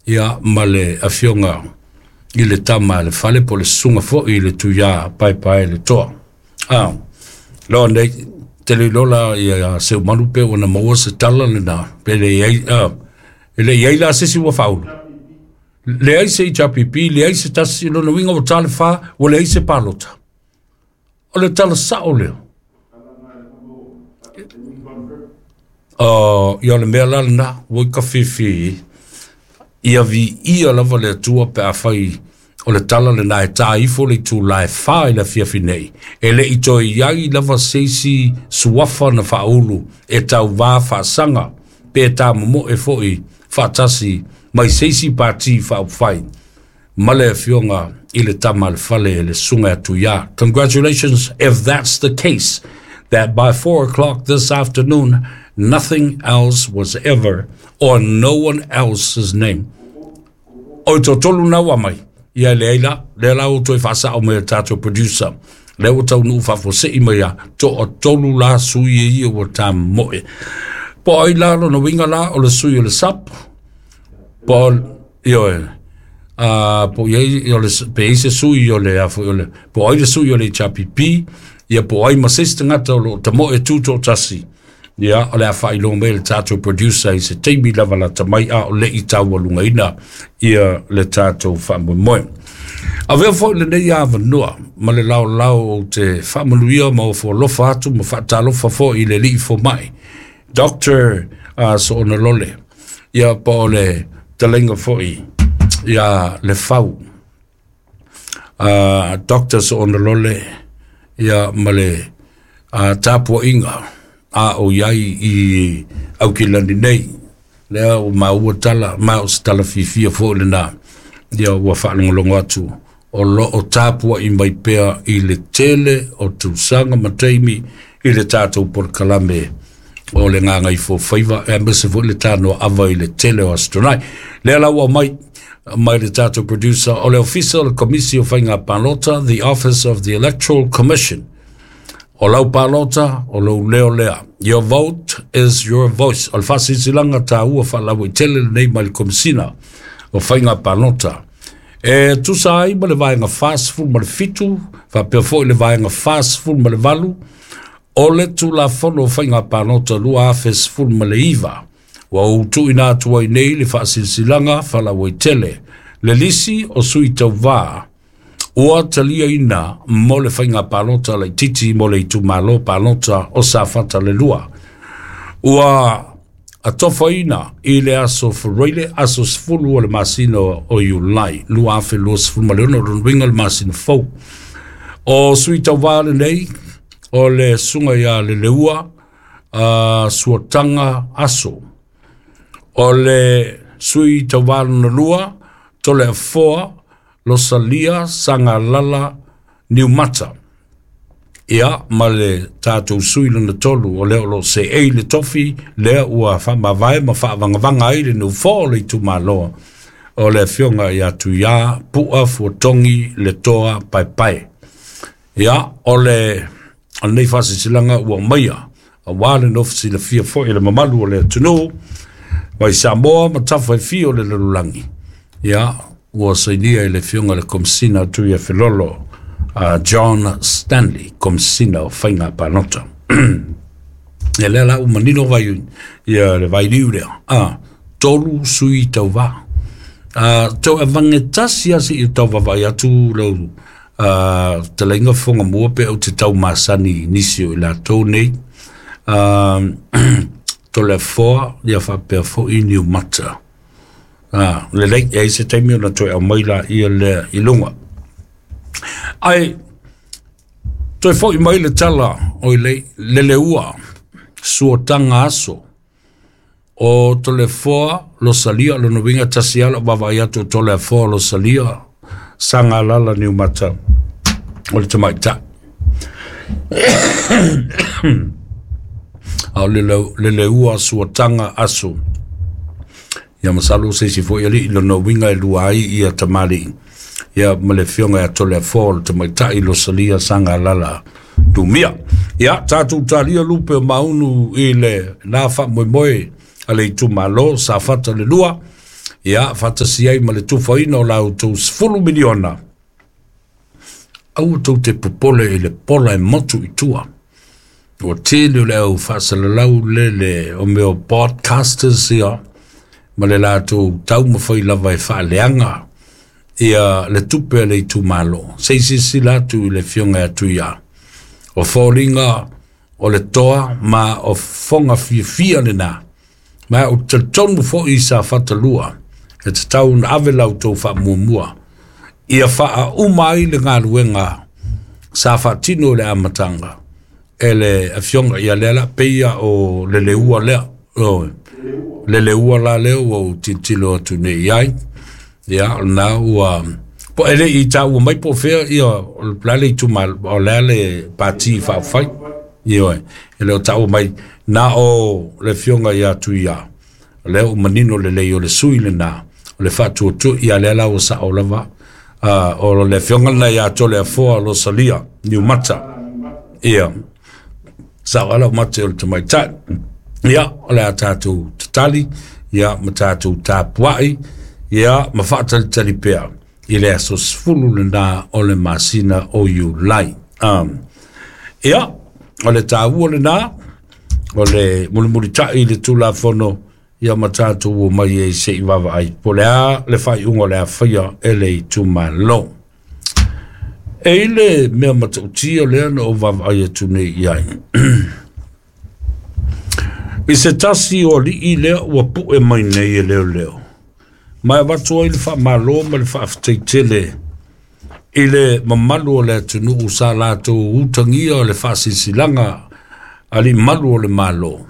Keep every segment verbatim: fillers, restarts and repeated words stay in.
Ia ma le afioga i le tama le fale po le susuga foi i le Tuiā Paepae le Toa. Ah, loa nei tele lola ia Seumanu pe ua na maua se tala lena pe le iai ah, e le iai la se isi ua faaulu. Leai se H R P P, leai se tasi, lona uiga ua ta le fa, ua leai se palota. O le tala sao lea. Uh, ia le mea la lena, ua i ka fifi, ia viia lava le Atua pe afai o le tala lena e tā ifo le itulā e fa i le afiafi nei. E le i toe iai lava se isi suafa na faaulu e tauvā faasaga pe tāmomoe fo'i faatasi mai se isi pati faaupufai ma le afioga i le tama le fale le susuga ia Tuiā. Congratulations if that's the case, that by four o'clock this afternoon, nothing else was ever or no one else's name. O toatolu na ua mai. Ia le ai la, lea la ua toe faasao mai e tatou producer. Lea ua taunuu faafuasei mai ia, toatolu la sui e ia ua tamoe. Po ai la lona uiga la o le sui o le S A P, po ioe, uh, po iai o le, pe ai se sui o le, o le, po ai le sui o le H R P P, ia po ai ma se isi tagata o loo tamoe tutoatasi. Ia, o le a faailoa mai le tatou producer i se taimi lava lata mai a o le i taualugaina ia le tatou faamoemoe. Avea foi lenei avanoa ma le laolao o te faamanuia ma ofo alofa atu ma faatalofa foi i le alii fomai, Doctor uh, Soona Lole. Ia po o le taleiga foi ia le fau. Uh, Doctor Soona Lole ia ma le uh, tapuaiga a o iai i Aukilani nei. Lea o maua tala, ma o se tala fiafia foi lena. Ia ua faalogologo atu o loo tapuai mai pea i le tele o tausaga ma taimi i le tatou polokalame o le Gagaifofaiva, e aemaise foi le tanoa ava i le tele o aso Toonai. Lea la ua mai mai le tatou producer o le Ofisa o le Komisi o Faiga Palota, the Office of the Electoral Commission. O lau palota, o lou leo lea. Your vote is your voice. O le faasilasilaga tāua faalauaitele lenei mai le Komisina o Faiga Palota. E tusa ai ma le vaega fasefulu ma le fitu, faapea foi le vaega fasefulu ma le valu, o le Tulafono o Faiga Palota lua afe sefulu ma le iva. Ua ou tuuina atu ai nei le faasilasilaga faalauaitele. Le lisi o sui tauvā ua taliaina mo le faiga palota laitiiti mo le itumalo palota o Safata le lua. Ua atofaina i le aso Fereile, aso sefulu o le masina o Iulai, lua afe luasefulu ma le ono, lona uiga le masina fou. O sui tauvā lenei, o le susuga ia Leleua, uh, Suataga Aso. O le sui tauvā lona lua, Toleafoa Losalia Sagalala Niumata. Ia, ma le tatou sui lona tolu o lea o loo seei le tofi, lea ua faamavae ma faavagavaga ai le nofoa o le itumalo o le afioga ia Tuiā Pu'a Fuatogi le Toa Paepae. Ia, o le o lenei faasilasilaga ua aumaia auā le nofo silafia foi i le mamalu o le atunuu mai Samoa ma tafa e fia o le lalolagi. Ia, ua sainia i le afioga i le Komisina Tuia Felolo, uh, John Stanley, Komisina o Faiga Palota. E lea la ua manino vai ia le vailiu lea. Ah, tolu sui tauvā. Ah, tau avage tasi a seia tau vaavaai atu lau uh, taleiga fofoga mua pe ou te tau masani i nisi o i latou nei. Uh, Toleafoa ia faapea foi Niumata. Ah, lelei, e ai se taimi ona toe aumai la ia lea i luga. Ai, toe foi mai le tala o i le Leleua, Suataga Aso, o Toleafoa Losalia, lona uiga tasi ala o vaavaai atu o Toleafoa Losalia, Sagalala Niumata, o le tamaitai. A o le Leleua Suataga Aso. Ia masalo se isi foi alii lona uiga e lua ai ia tamalii. Ia ma le afioga ia Toleafoa o le tamaitai Losalia Sagalala Numia. Ia, tatou talia lupe o maunu i le na faamoemoe a le itumalo Safata le lua. Ia faatasi ai ma le tufaina o la outou sefulu miliona. Aua tou te popole i le pola e motu i tua. Ua tele o le au faasalalau lele o mea o podcasters ia ma le latou taumafai lava e faaleaga ia le tupe a le itumalo. Se i silasila atu i le afioga ia Tuia. O foliga o le toa ma o fofoga fiafia lena. Ma ou te talitonu foi i Safata lua e tatau ona ave la outou faamuamua ia faauma ai le galuega sa faatino i le amataga e le afioga ia lea la peia o le leua lea o le leua la lea ua ou tilotilo atu nei i ai. Ia o lena ua po e le i taua mai po o fea ia o le a le itumalo o le a le pati faaupufai. Ioe, e le o taua mai na o le afioga ia Tuia o lea ua manino lelei o le sui lena o le faatuatua ia lea la ua sao lava uh, o le afioga lena ia Toleafoa Losalia Niumata. Ia sao ala o mate o le tamaitai. Ia o le a tatou tatali ia ma tatou tapuai ia ma faatalitali pea i le aso sefulu lena o le masina o Iulai. Um, ia o le taua lena o le mulimulitai i le Tulafono ia ma tatou o mai ai se i vaavaai po o le a le faaiuga o le a faia e le itumalo. E i le mea matautia lea na ou vaavaai atu nei i ai. I se tasi o alii lea ua pu'e mai nei e leoleo, ma e avatu ai le faamalo ma le faafetai i le mamalu o le atunuu sa latou utagia o le faasilasilaga alii malu o le Malo,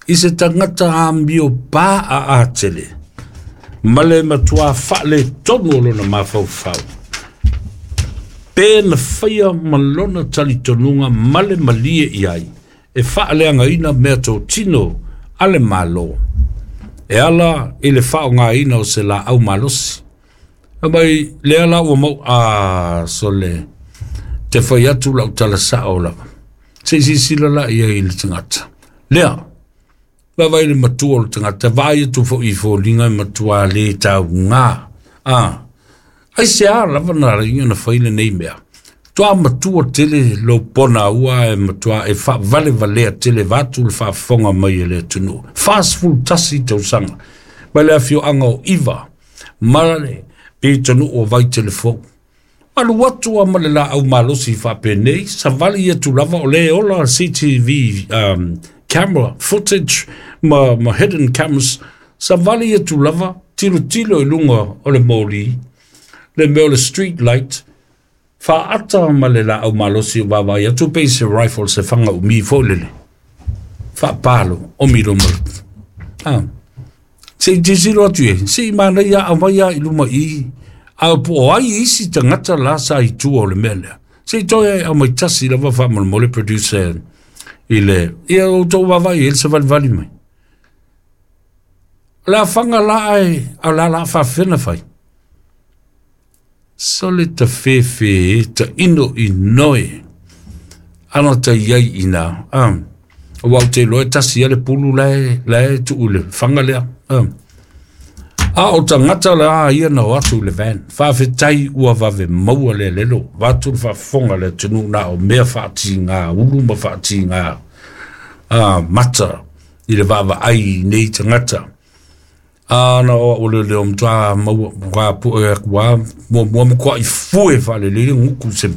i se tagata amio pa a atele, ma le matua faaletonu o lona mafaufau, pe na faia ma lona talitonuga ma le malie i ai, e faaleagaina mea totino a le Malo, e ala i le faaaogaina o se laau malosi. Mai lea la ua mau a sole te fai atu lau tala sao lava. Se i silasila la ia i le tagata. Lea, vaavaai le matua o le tagata, vaai atu foi i foliga e matua le tauga. Ah, ai se a lava na ala na fai lenei mea. Toa matua tele lo pona ua e matua e faavalevalea tele vatu le faafofoga mai e le atunuu. Fasefulu tasi tausaga. Mai le afioaga o Iva, ma le pitonuu o Vaitelefou. Alu atu a ma le laau malosi faapenei, savali atu lava o le ola C C T V um, camera footage ma, ma hidden cameras, savali atu lava, tilotilo i luga o le moli, le mea o le street light, faata ma le laau malosi o vaavaai atu pe i se rifle se faga umi foi lele. Faapalo o milo mai. Ah. Se i tilotilo atu e, se i manaia aumai a i luma i, a po o ai isi tagata la sa i tua o le mea lea. Se i toe aumai tasi lava faamolemole producer i le, ia outou vaavaai e le savalivali mai. O le afaga la ae, a o le a la faafefea fai. Sole ta fefe e ta ino i noe. Ana ta iai ina. Ah. Ua ou te iloa e tasi ia le pulu lae, lae tuu le faga lea. Ah. A o tagata la ia na o atu i le van. Faafetai ua vave maua le lelo. Vatu le faafofoga le atunuu na o mea faatiga ulu ma faatiga ah, mata i le vaavaai i nei tagata. A na o o le leo matua maua wa pu e wa mo mo mo kwa i fue faalelei le guku se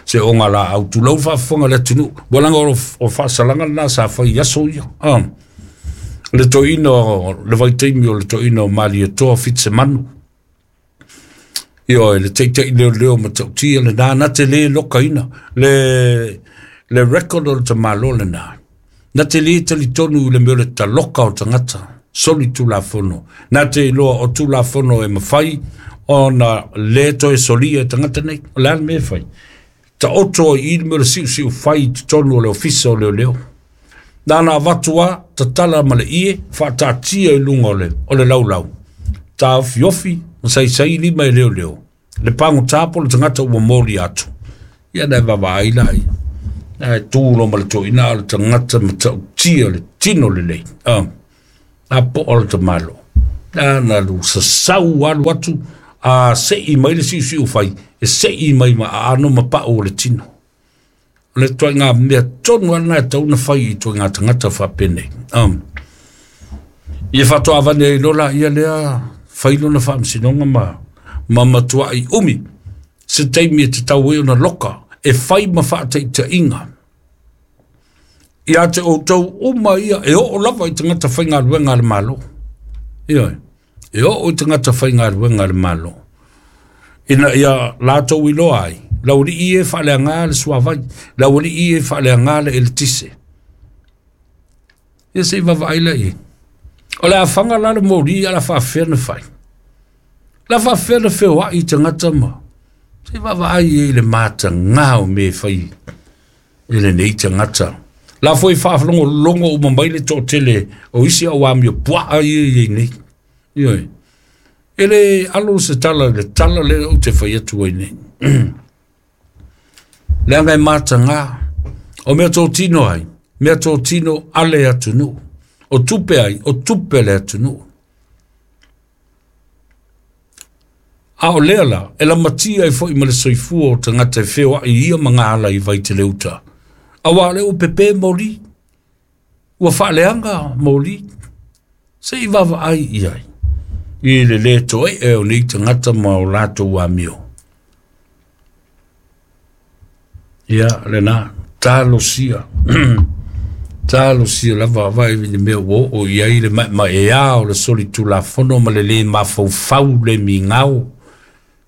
se oga laau tulou faafofoga le atunuu. Ua laga o, o faasalaga lena sa fai i aso ia. Ah. Le toeaina le vaitaimi o le toeaina o Malietoa Fitisemanu. Ioe, le taita'i leoleo matautia lena, na te lē lokaina le, le record o le tamālo lena. Na te lē talitonu i le mea o le taloka o tagata, soli tulafono. Na te iloa o tulafono e mafai ona lē toe solia e tagata nei. O le a le mea e fai? Taoto ai i le mea o le siusiu fai i totonu o le ofisa o leoleo. Na na avatu a, tatala ma le ie, faataatia i luga o le, o le laulau. Taofiofi, ma saisai lima e leoleo. Le pagotā po le tagata ua moli atu. Ia na e vaavaai la ia. Na e tu lo ma le toeaina o le tagata matautia le tino lelei. Ah, a po o le tamalo. Na lu sasau alu atu a se'i mai le siusiu fai e se'i mai ma aano ma pa'u o le tino. O le tuaiga mea tonu lava lena e tatau ona fai i tuaiga tagata faapenei. Um, ia faatoavane ai loa laia lea fai lona faamasinoga ma ma matuai umi se taimi e tatau ai ona loka e fai ma faataitaiga ia te outou uma ia e oo lava i tagata faigaluega a le Malo. Ioe, e oo i tagata faigaluega a le Malo ina ia latou iloa ai le aualii e faaleaga le suavai, le aualii e faaleaga le eletise. Ia se i vaavaai la i ai. O le afaga la le moli a la faafefea na fai. La faafefea na feoai tagata ma se i vaavaai i ai le mataga o mea e fai i lenei tagata. La foi faalogologo uma mai le toatele o isi au amio puaa ia i ai nei. Ioe. E le alo se tala le tala lea ou te fai atu ai nei. Leaga e mataga o mea totino ai, mea totino ale atunuu. O tupe ai, o tupe le atunuu. A o lea la, e lamatia ai foi ma le soifua o tagata e feoai i ia magaala i Vaiteleuta. Auā o lea ua pepe moli, ua faaleaga moli, se i vaavaai i ai i le lē toe'e o nei tagata ma o latou amio. Ia lena, talosia, talosia lava vaai i le mea ua oo i ai le maemaea o le solitulafono ma le lē mafaufau le migao,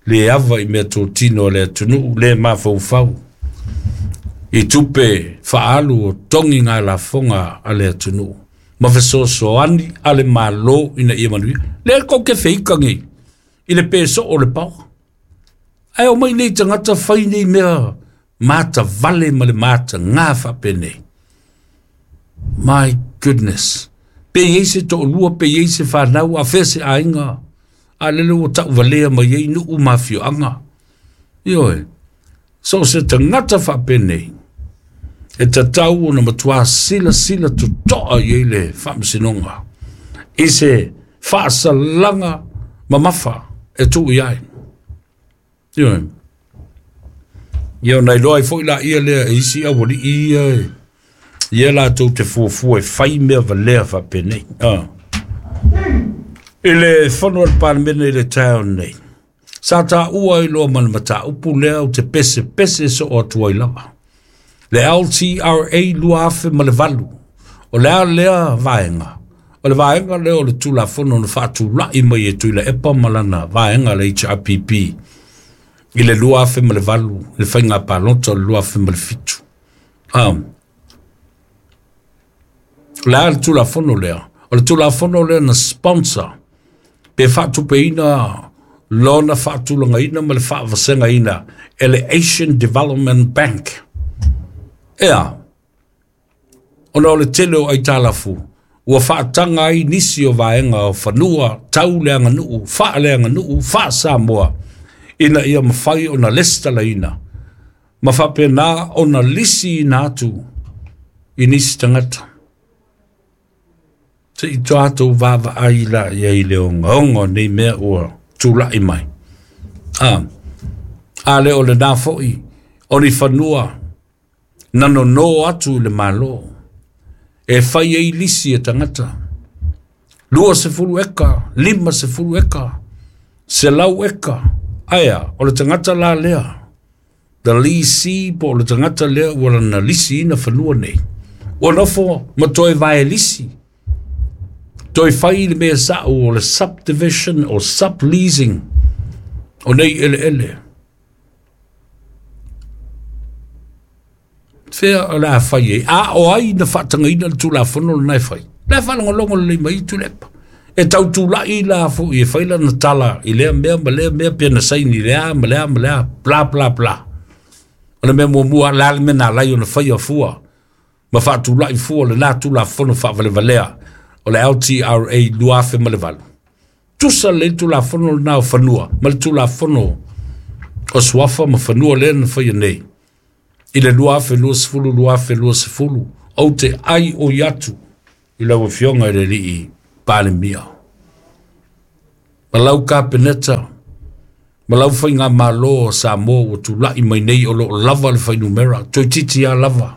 le ava i meatotino a le atunuu, le mafaufau i tupe faaalu o togi galafoga a le atunuu ma fesoasoani a le Malo ina ia manuia. Lea kou te feika nei i le pesoo o le paoa. Ae o mai nei tagata fai nei mea matavale ma le mataga faapenei. My goodness. Pe i ai se toalua, pe i ai se fanau, a fea se aiga, a lele ua tauvalea mai ai nuu ma afioaga. Ioe, so o se tagata faapenei, e tatau ona matuā silasila totoa i ai le faamasinoga i se faasalaga mamafa e tuu i ai. Ioe. Ia ona iloa ai foi laia lea e isi aualii ia e ia latou te fuafua e fai mea valea faapenei. Ah. I le fono a le Palemene i le taeao nei, sa taua ai loa ma le mataupu lea ou te pesepese soo atu ai lava. Le L T R A lua afe ma le valu, o le a lea vaega, o le vaega lea o le Tulafono na faatula'i mai e Tuilaepa ma lana vaega le H R P P i le lua afe ma le valu, le faiga palota o le lua afe ma le fitu. Ah. O le a le Tulafono lea? O le Tulafono lea na sponsor pe faatupeina lona faatulagaina ma le faavasegaina e le Asian Development Bank. Ea, ona o le tele o aitalafu, ua faataga ai nisi o vaega o fanua tau le aganuu, faaleaganuu, faa-Samoa, ina ia mafai ona lesitalaina, ma faapena ona lisiina atu i nisi tagata. Se i tatou vaavaai la i ai le ogaoga o nei mea ua tula'i mai. Ah, a le o lena foi o ni fanua na nono atu i le Malo e fai ai lisi e tagata. Lua sefulu eka, lima sefulu eka, selau eka. Aea, o le tagata la lea, the lisi po o le tagata lea ua lana lisiina fanua nei. Ua nofo ma toe vae lisi. Toe fai le mea sa'u o le subdivision o subleasing o nei eleele. Fea o le a fai ai. A o ai na faatagaina le Tulafono lena e fai. Le faalogologo lelei mai i Tuilaepa. E tautula'i la fo'i e fai lana tala i lea mea ma lea mea pe na saini i lea ma lea ma lea bla bla bla. O le mea muamua la le mea na alai ona faia fua ma faatula'i fua lena Tulafono faavalevalea o le L T R A lua afe ma le valu. Tusa le Tulafono lena o fanua ma le Tulafono o suafa ma fanua lea na faia nei. I le lua afe lua sefulu lua afe lua sefulu, ou te ai oi atu i lau afioga i le alii Palemia. Ma lau kapeneta, ma lau whainga malo o Samoa ua tula'i mai nei o loo lava le whainumera, toeitiiti a lava.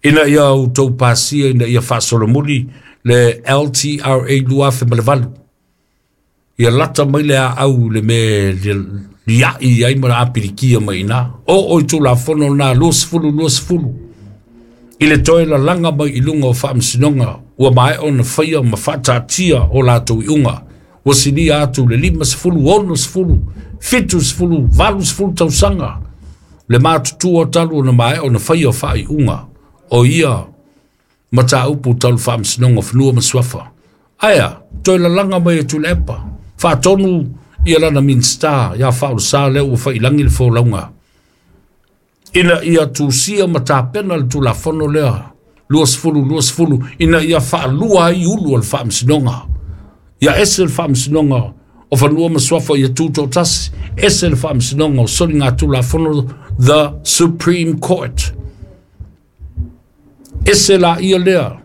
Ina ia outou pasia ina ia faasolomuli le L T R A lua afe ma le valu. Ia lata mai le aau le me liai ai ma le apilikia mai ina. O oi tulafono na lua sefulu lua sefulu. I le toe lalaga mai i luga o faamasinoga ua maea ona faia ma faataatia o latou iuga. Ua silia atu le lima sefulu, ono sefulu, fitu sefulu, valu sefulu tausaga. Le matutua talu ona maea ona faia o faaiuga o ia mataupu talu faamasinoga o fanua ma suafa. Aia, toe lalaga mai e Tuilaepa. Faatonu ia lana Minista ia Faaulusa lea ua faiilagi le folauga. Ina ia tusia ma tapena le tulafono lea, lua sefulu, lua sefulu, ina ia faalua ai ulu o le faamasinoga. Ia ese le faamasinoga o fanua ma suafa ia tutoatasi, ese le faamasinoga o soliga tulafono, the Supreme Court. Ese la ia lea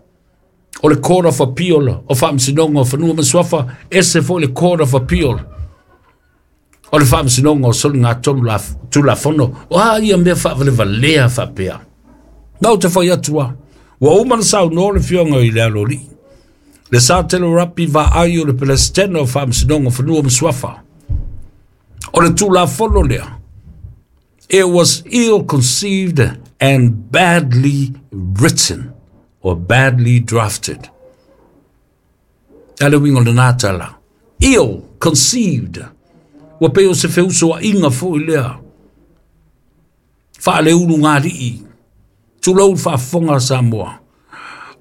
o le Court of Appeal o faamasinoga o fanua ma suafa, ese foi le Court of Appeal o le faamasinoga o soliga tulafono. O a ia mea faavalevalea faapea. Na o te fai atu a, ua uma na saunoa le fioga i le alolii. Le sa tele rapi vaai o le Pelestena o faamasinoga o fanua ma suafa. O le tulafono lea, it was ill-conceived and badly written or badly drafted. Ale wingo le nātala. Ill-conceived. Ua pe o se feuso a inga fo i lea. Whaale ulu ngā lii. Tulau whaafonga Samoa.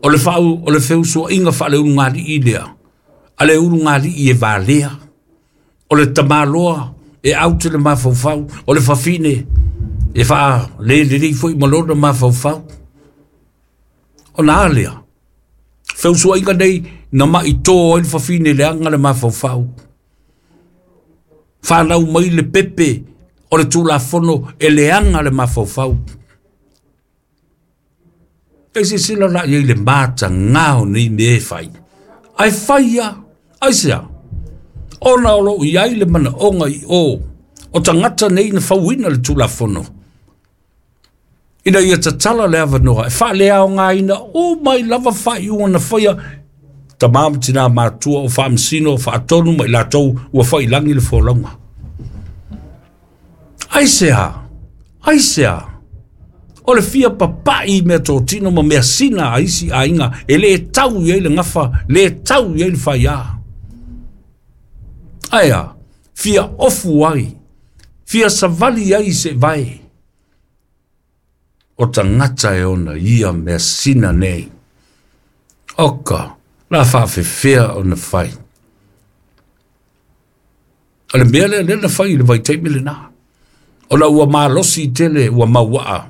O le whau, o le feuso a inga whaale ulu ngā lii lea. Ale ulu ngā lii e valea. O le tamaloa e aute le mafaufau. O le whawhine e wha le le fo i malona mafaufau. O nā lea. Feuso a inga nei na mai tō ai le whawhine le anga le mafaufau. Whanau mai le pepe o le tulafono e le anga le mafaufau. E sisila la iei le mata ngao nei me e whai. Ai whai ia, ai sea. Ona o lo iai le mana onga i o. O tangata nei na whauina le tulafono. Ina ia tatala le awanoa. E wha le ao ngā ina o mai lava whai ua na whaia. Tamam tina matua o whaamsino o whaatonu mai lātou ua whailangi le folauga. Ai sea, ai sea. O le fia papai mea tōtino ma mea sina a isi ainga e le tau i le ngafa, le tau i le whaia. Aia, fia ofu ai, fia savali ai se vai. O tangata e ona ia mea sina nei. Oka, la whaafewhea o na whai. O le mea lea lea na whai i le vaitaimi le nā. O la ua malosi tele ua mauaa.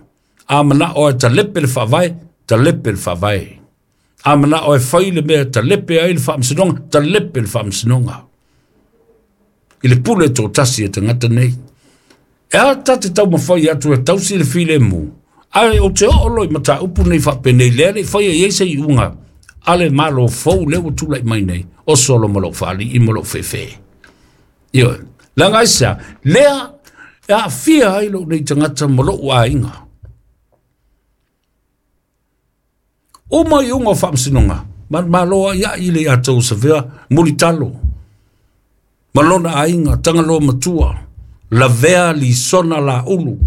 A mana o e talepe le whaavae, talepe le whaavae. A mana o e whai le mea talepe ai le whaamsinonga, talepe le whaamsinonga. I le pule tō tasi e tangata nei. E a tate tau mawhai atu e tausi le file mu. Ai o te o loi mata upu nei whapenei lea le whai e eise i unga. Ale malo fou le ua tūlai mai nei. O solo malo whaali i malo whewhe. Io, langa aisa, lea e a fia ai lo nei tangata malo ua inga. O mai unga o whaamsinonga, ma maloa ia i le atou sawea mulitalo. Malona ainga, tangaloa matua, lavea li sona la ulu.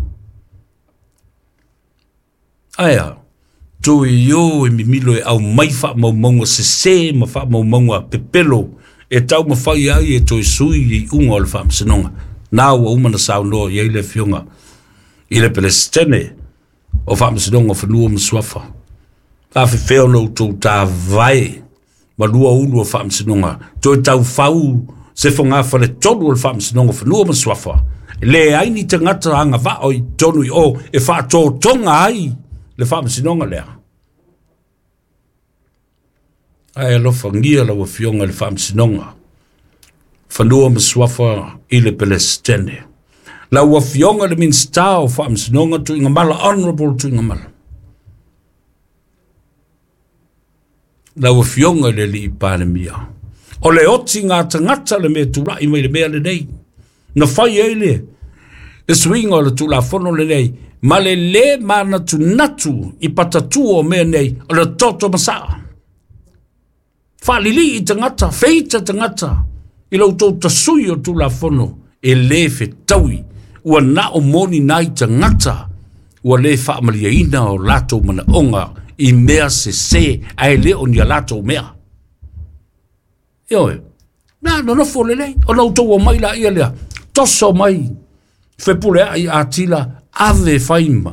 Aia, tui yo e mimilo e au mai wha maumaunga sese ma wha maumaunga pepelo e tau mawhai ai e toi sui i unga o le whaamsinonga. Nā ua umana saunoa i eile fionga i le Pelestene o whaamsinonga o whanua masuafa. Ka whewheo no tō tā vai ma lua ulu o whaamsinonga. Toi tau whau se whanga whale tonu o le whaamsinonga o whanua masuafa. Le aini te ngata anga vao i tonu i o e whaatōtonga ai le whaamsinonga lea. Ai alofa ngia la wafionga le whaamsinonga. Whanua masuafa i le Pelestene. La wafionga le minsta o whaamsinonga tu ingamala, honorable tu ingamala. La wafionga le li i panemia. O le oti ngā tangata le mea tūlai mai le mea le nei. Na fai ai le, le suiga o le tulafono lenei, ma le lē manatunatu i patatua o mea nei, o le toto masaa. Faalilii tagata, feita tagata, i lo outou tasui o tulafono, e lē fetaui, ua na o moni nai tagata, ua lē faamaliaina o latou manaoga i mea sesē, ae lē o ni a latou mea. Ioe, na nonofo lelei, ona outou omai laia lea, toso mai, Fepuleai Atila, ave faima.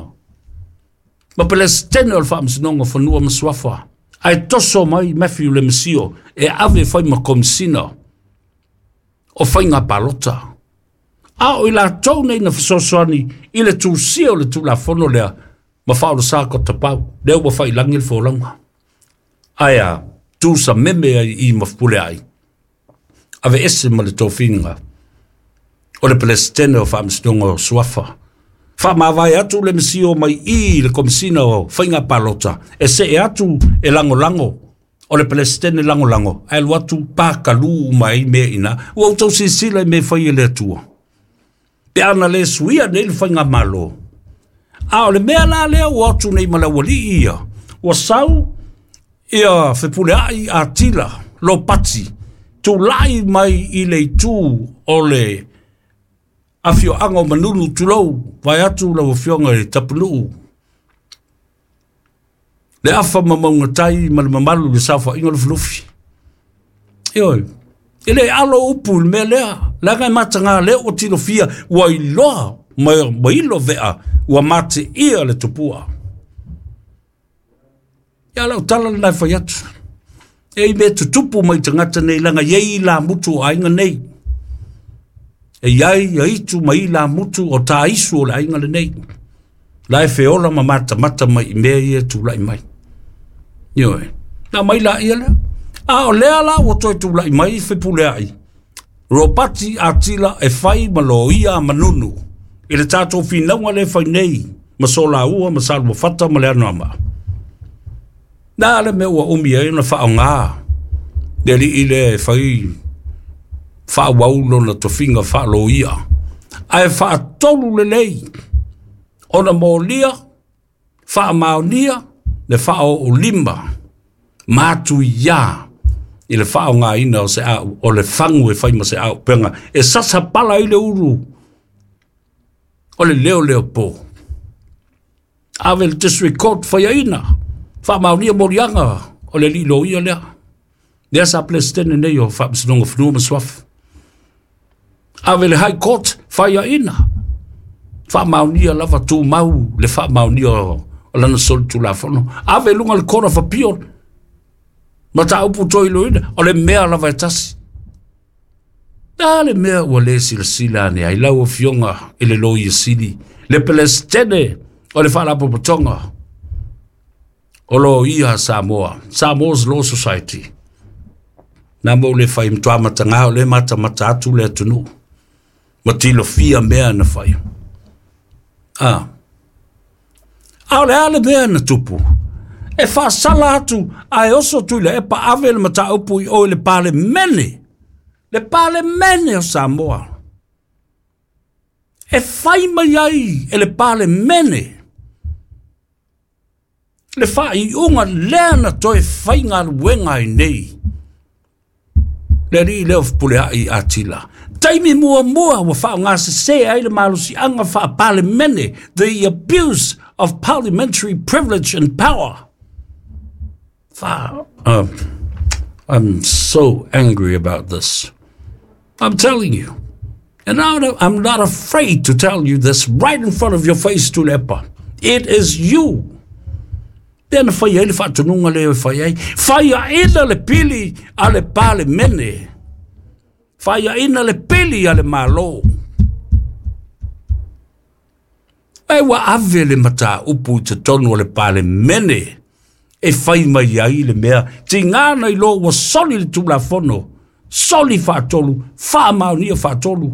Ma Pelestene o le Faamasinoga o Fanua ma Suafa, ae toso mai Matthew Lemisio e ave faima Komisina o Faiga Palota. A o i latou nei na fesoasoani i le tusia o le Tulafono lea ma faaolosā kotapau, lea ua failagi le folauga. Ae a, tu sameme ai i ma Fepuleai, ave ese ma le tofiga o le Pelestene o Faamasinoga o Suafa. Faamavae atu le Mesio mai i le Komisina o Faiga Palota, e see atu e lagolago o le Pelestene lagolago, ae alu atu pakalū uma ai mea i ina. Ua outou silasila i mea e fai e le Atua. Pe ana lē suia nei le faigamālō. A o le mea la lea ua atu nei ma le aualii ia, ua sau ia Fepuleai Atila Lopati, tulai mai i le itu o le afioaga o Manunu tulou, vae atu lau afioga i Tapunuu. Le afa ma maugatai ma le mamalu i le saofaiga lufilufi. Ioe, e le alo upu i le mea lea, leaga e mataga lea ua tilofia, ua iloa ma, ma ilo vea, ua mateia le tupua. Ia lau tala lena e fai atu. E i mea tutupu mai tagata nei, leaga e i ai la mutu o aiga nei. E iai ia itu ma i la mutu o taisu o le aiga lenei. La e feola ma matamata mai i mea ia tulai mai. Ioe, na mai la ia lea. A o lea la ua toe tulai mai Fepuleai. Ropati Atila e fai ma loia a Manunu i le tatou finauga le fai nei ma Solaua ma Saluafata ma le Anoamaa. Na le mea ua umi ai ona faaaoga le alii lea e fai faaauau lona tofiga faaloia. Ae faatolu lelei ona molia, faamaonia le faaoolima matuia i le faaaogaina o se au, o le fagu e fai ma se auupega e sasa pala ai le ulu o le leo leo po. Ave le District Court faiaina, faamaonia moliaga o le alii loia lea. Lea sa Pelestene nei o Faamasinoga o Fanua ma Suafa. Ave le High Court faiaina, faamaonia lava tumau le faamaonia o lana solitulafono. Ave luga le Court of Appeal, mataupu toiloina, o le mea lava e tasi. Na le mea ua lē silasila ane ai lau afioga i le Loia Sili, le Pelestene o le Faalapotopotoga o Loia a Samoa, Samoa's Law Society. Na mo le fai matoa matagā o le matamata atu le atunuu ma tilofia mea na fai. Ah. A o le a le mea na tupu? E faasala atu ae oso Tuilaepa ave le mataupu i o i le Palemene. Le Palemene o Samoa. E fai mai ai e le Palemene le faaiuga lea na toe faigaluega ai nei le alii lea o Fepuleai Atila. Taimi muamua ua faaaogasesē ai le malosiaga faapalemene, the abuse of parliamentary privilege and power. Fa, um, I'm so angry about this. I'm telling you. And I'm not afraid to tell you this right in front of your face, Tuilaepa. It is you. Lea na fai ai le faatonuga lea e fai ai. Faiaina le pili a le Palemene. Faiaina le pili a le Malo. E ua ave le mataupu i totonu o le Palemene e fai mai ai le mea. Tigana i lo ua soli le Tulafono. Soli faatolu, faamaonia faatolu.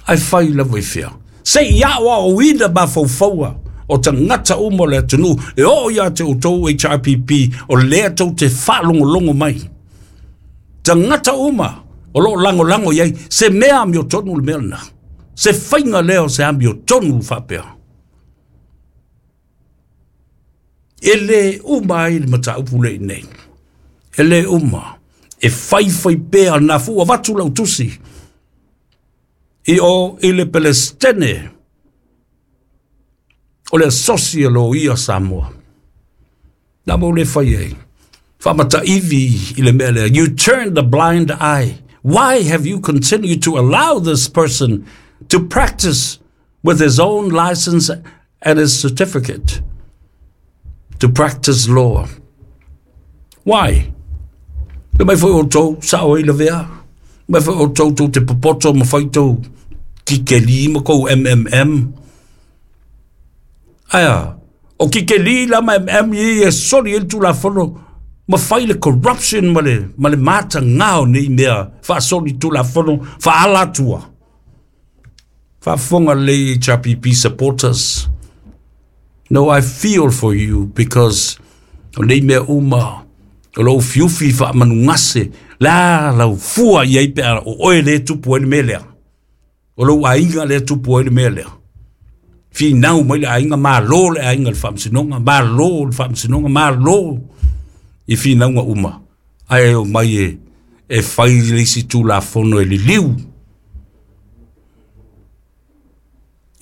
Ae fai lava i fea. Se i ao aoina mafaufaua o tagata uma o le atunuu e oo ia te outou H R P P o lea tou te faalogologo mai. Tagata uma o loo lagolago i ai se mea amiotonu le mea lena. Se faiga lea o se amiotonu faapea. E lē uma ai le mataupu le i nei. E lē uma. E faifai pea na fua vatu lau tusi. I o i le Pelestene o le asosi e lo ia Samoa. Na mo le fai ai. Whamataivi i le mea lea. You turned the blind eye. Why have you continued to allow this person to practice with his own license and his certificate to practice law? Why? Le mai foi o tau sao i la vea. Mai foi o tau tau te popoto ma whai tau kikeli ma kou M M M. Aia, o kikeli la ma M M i e soli el tu la fono ma whai le corruption ma le, ma le mata ngao nei mea wha soli tu la fono wha alatua. Wha fonga le H R P P supporters. No, I feel for you because o nei mea uma o lou fiufi wha manungase la lau fua i ai pe ara o oe le tupu ai le mea lea. O lou ainga le tupu ai le mea lea. Fi nau mai le ainga malo le ainga le whamsinonga, malo le whamsinonga, malo i fi naunga uma. Ai o mai e, e whai le isi tū la fono e liliu.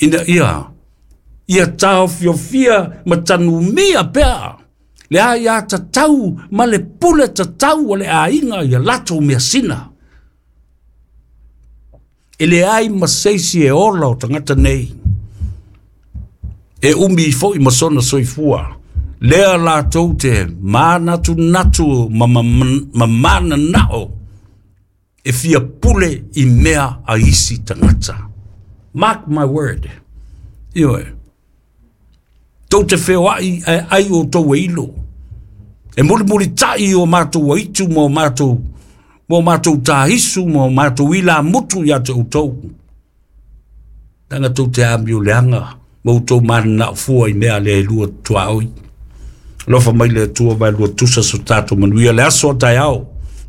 Ina ia, ia tau fiofia ma tanumia pea. Le ai a tatau ma le pule tatau o le ainga ia latou mea sina. E le ai ma seisi e ola o tangata nei. E umi foi ma sona soifua. Lea latou te manatu natu ma, ma, ma mana nao e fia pule i mea a isi tangata. Mark my word. Ioe. Tau te wheoai ai, ai o tau e ilo. E muri muri tai o mātou aitu mo mātou, mo mātou tāhisu, mo mātou ila mutu ia te utou. Tanga tau te ami o leanga, mo tau mana fua i mea le lua tuaoi. Lofa mai le tua vai lua tusa so tātou manuia le aso tai ao.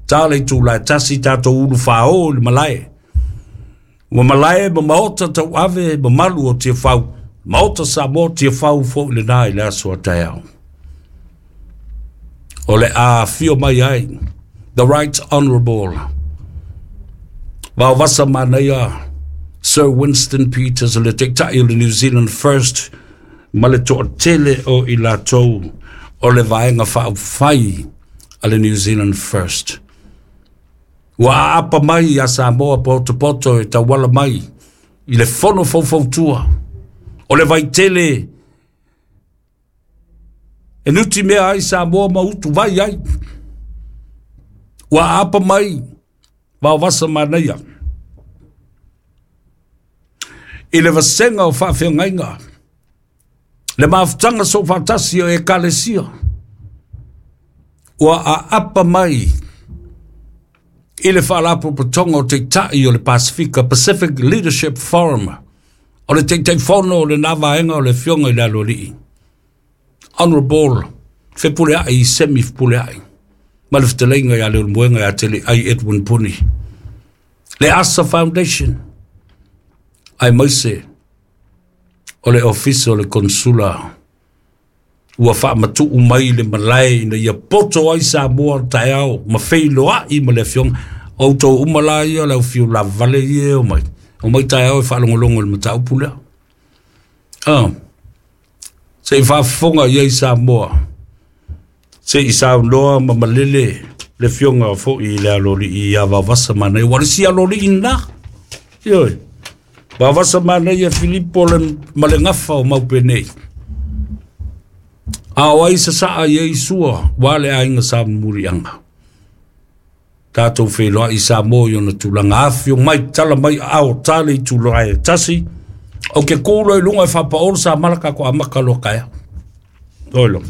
Tā le tū lai tasi tātou ulu whao le malae. Ua malae ma maota tau ave ma malu o te whau. Maota sa mo te whau fo le nai le aso tai ao. O le a fio mai ai. The Right Honourable Vaovasa Manaia Sir Winston Peters o le teitai o le New Zealand First ma le to'atele o i latou o le vaega faaufai a le New Zealand First. Ua aapa mai ia Samoa potopoto e tauala mai i le fono faufautua o le vaitele e nuti mea ai Samoa ma utu vai ai. Ua aapa mai Vaovasa Manaia i le vasenga o faafeagaiga le mafutaga sofatasi o ekalesia ua aapa mai i le faalapotopotoga o teitai o le Pasifika Pacific Leadership Forum o le teitaifono o lenā vaega o le afioga i le aloalii Honourable Fepuleai Semi Fepuleai ma le fetalaiga ia Leulumoega ia Teleai Edwin Puni le Asa Foundation ai maise o le ofisa o le konsula ua faamatuu mai le malae ina ia poto ai Samoa taeao ma feiloai ma le afioga o outou uma la ia le aufiu lavale ia e o mai o mai taeao e faalogologo i le mataupu lea. Ah, se i faafofoga i ai Samoa se i saunoa ma malele le afioga foi i le aloalii ia Vaovasa Manaia ua le isi aloalii lena. Ioe. Vaovasa Manaia Filipo le ma le gafa o Maupenei. A o ai sasaa i ai sua wa le aiga sa murianga. Tātou wheloa i Samoa i ona tulaga afio mai tala mai ao tale i tulaga e tasi. O ke kūlo i lunga e whapaolo sa malaka ko amaka loa kaea. Oilo.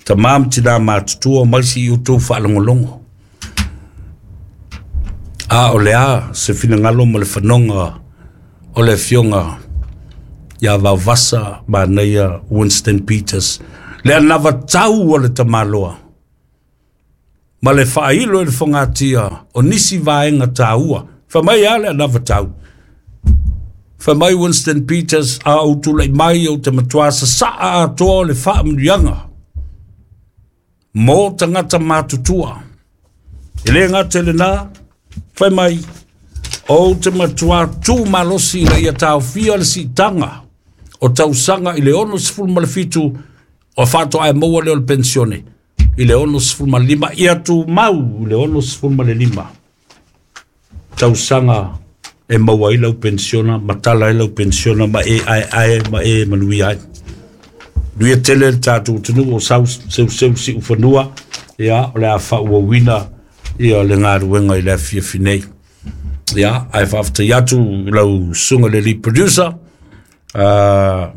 Tamam tina mātutua mai si i utou whaalongolongo. A o le a se finangalo ma le whanonga o le fionga Ia Vaovasa manaia Winston Peters le anavatau o le tamaloa ma le faailo i le fogatia o nisi vaega taua. Fai mai a le anavatau, fai mai Winston Peters, a ou tulai mai ou te matuā sasaa atoa o le faamanuiaga mo tagata matutua. E lē gata i lenā, fai mai ou te matuā tu malosi ina ia taofia le siitaga o tausaga i le ono sefulu ma le fitu o faatoa e maua lea o le pensione i le ono sefulu ma lima, ia tumau i le ono sefulu ma le lima tausaga e maua ai lau pensiona ma tala ai lau pensiona ma e aeae ma e manuia ai. Nuia tele le tatou atunuu o sau seuseu siufanua, ia o le a faauauina ia le galuega i le afiafi nei. Ia ae faafetai atu i lau susuga le lead producer uh,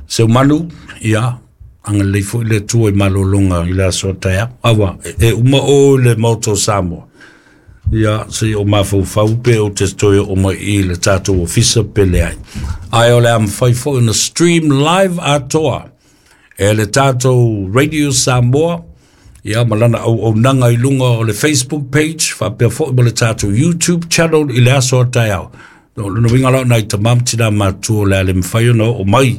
Seumanu, ia agalelei foi le Atua i malologa i le aso a taeao. Aua e uma o le Maota o Samoa, ia se o mafaufau pe o te toe o mai i le tatou ofisa pe leai. Ae o le a mafai foi ona stream live atoa e le tatou Radio Samoa, ia ma lana auaunaga i luga o le Facebook page faapea foi ma le tatou YouTube channel i le aso a taeao. O lona uiga la o nai tamā ma tinā matutua o le a le mafai ona oo mai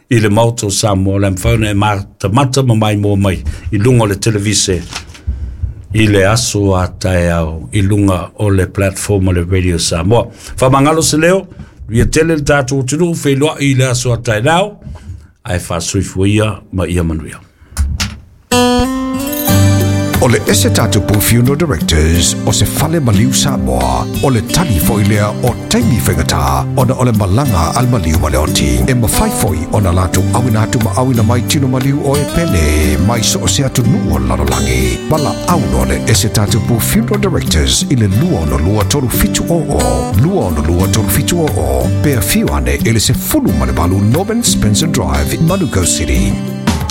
i le Maota o Samoa, o le a mafai ona e matamata ma maimoa mai i luga o le televise i le aso a taeao i luga o le platform o le Radio Samoa. Faamagalo se leo, ia tele le tatou atunuu feiloai i le aso a taeao, ae faasoifua ia ma ia manuia. O le ese tatupu Funeral Directors o se fale maliu Samoa, o le tali foi lea o taimi faigata ona o le malaga a le maliu ma le oti. E mafai foi ona latou auina atu ma auina mai tino maliu o e pele mai so o se atunuu o le lalolagi. Valaau loa le ese tatupu Funeral Directors i le lua ono lua tolu fitu o o, lua ono lua tolu fitu o o, pe afio ane i le sefulu ma le valu Norman Spencer Drive, Manukau City.